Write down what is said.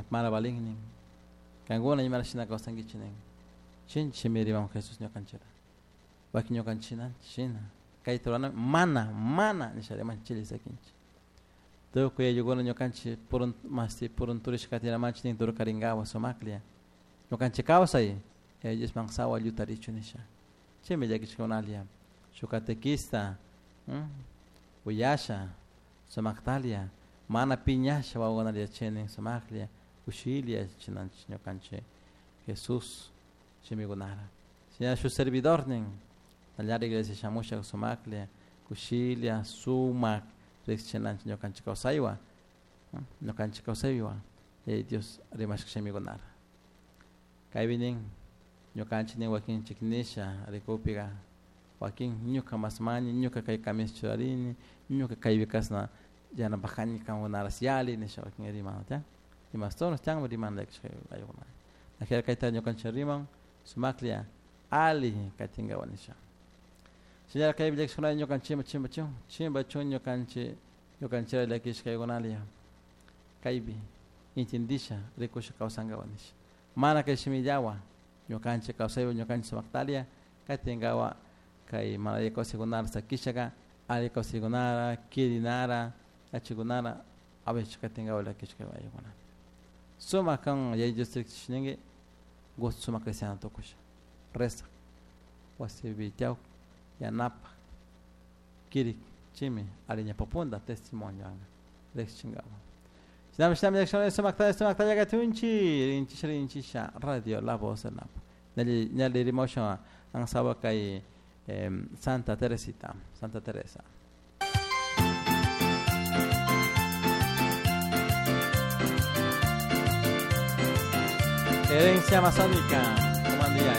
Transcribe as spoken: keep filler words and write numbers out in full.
Mana balin nin. Kankuna imara shina kawsankichik nin. Chinchi riman Jesús ñukanchikta. Wakin ñukanchik shina. Kayta rurana mana mana nisha riman chili sakinchik. Tukuy ayllukuna ñukanchik purun masti purunturishka katinamanchik nin turkarinkawa sumaklla. Ñukanchik kawsay Diosman sawa llutarichu nisha. Chaymi llakishkakunalla. Shuk catequista uyasha sumaktalia mana piñasha wawakunalla yachaynin sumaklla kushilla yachachinanchik ñukanchik Jesús shimikunara. Shina shuk servidornin nallara iglesia shamusha sumaklla kushilla sumak riqsichinanchik ñukanchik kawsaywan ñukanchik kawsaywan Dios rimashka shimikunara. Kaypi nin ñukanchik nin wakinchik nisha rikupiqa wakin ñuka masmani ñuka kay camisa churarini ñuka kaypi kasna yanapajani kankunaras yali nisha wakin riman tiyan imastoros tiyanmi riman ayllukuna ajina kayta ñukanchik riman sumaklla ali katinkawan nisha. Señora kaypi llakishkunalla ñukanchikman chimpachun chimpachun ñukanchik ñukanchikra llakishkaykunalla kaypi intindisha rikusha kawsankawan nisha mana kay shimillawan ñukanchik kawsaywan ñukanchik sumaktalia katinkawan kay mana alli kawsaykunara sakishaka alli kawsaykunara kirinara achikunara awichu katinkawan llakishka ayllukuna. Sumak kan Yaya Dios riqsishinki gusto sumak cristiano tukusha rezak wasipi tiyawk yanapak kirik chaymi alli ñawpapunta testimonio kanka riqsichinkawan. Shinami shinami llakishkuna sumakta sumaktalla katunchik rinchisha rinchisha Radio La Voz del Napo. Ñalli ñalli rimasha ansawa kay Santa Teresita, Santa Teresa. Herencia amazónica, comando Yaya.